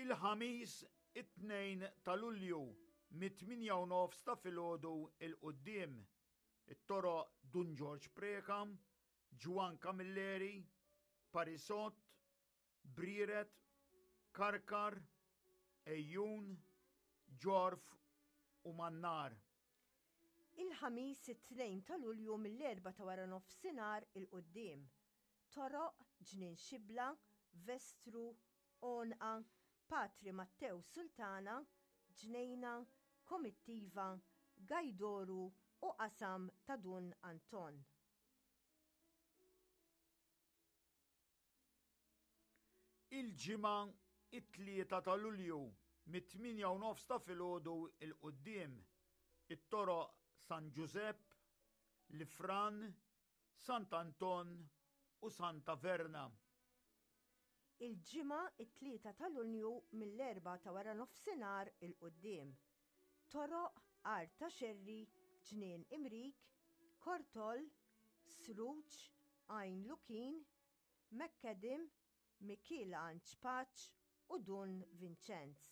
Il-Ħamis it-2 ta' Lulju mit-8 u nofs ta' filgħodu 'l quddiem. It-toroq Dun Ġorġ Preca, Ġwann Camilleri, Parisot, Brieret, Karkar, Għejjun, Ġorf u Mannar. Il-Ħamis it-2 ta' Lulju mill-Erbgħa ta' waranofsinhar 'il quddiem. Toroq, Ġnien Xibla, Vestru, Għonqa, Patri Mattew Sultana, Ġnejna, Komittiva, Gajdoru u Qasam ta' Dun Anton. Il-Ġimgħa, it-Tlieta ta' Lulju, mit-tmienja u nofs ta' filgħodu 'l quddiem, it-toroq San Ġużepp, Lifran, Sant'Anton u Santa Verna. Il-Ġimgħa, it-Tlieta ta' Lunju, mill-Erbgħa ta' waranofsinhar 'il quddiem, toroq Għar ta' Xerri, Ġnien Imrik, Kortol, Sruġ, Għajn Lukin, McAdam, Mikiel Anġ Paċ u Dun Vinċenz.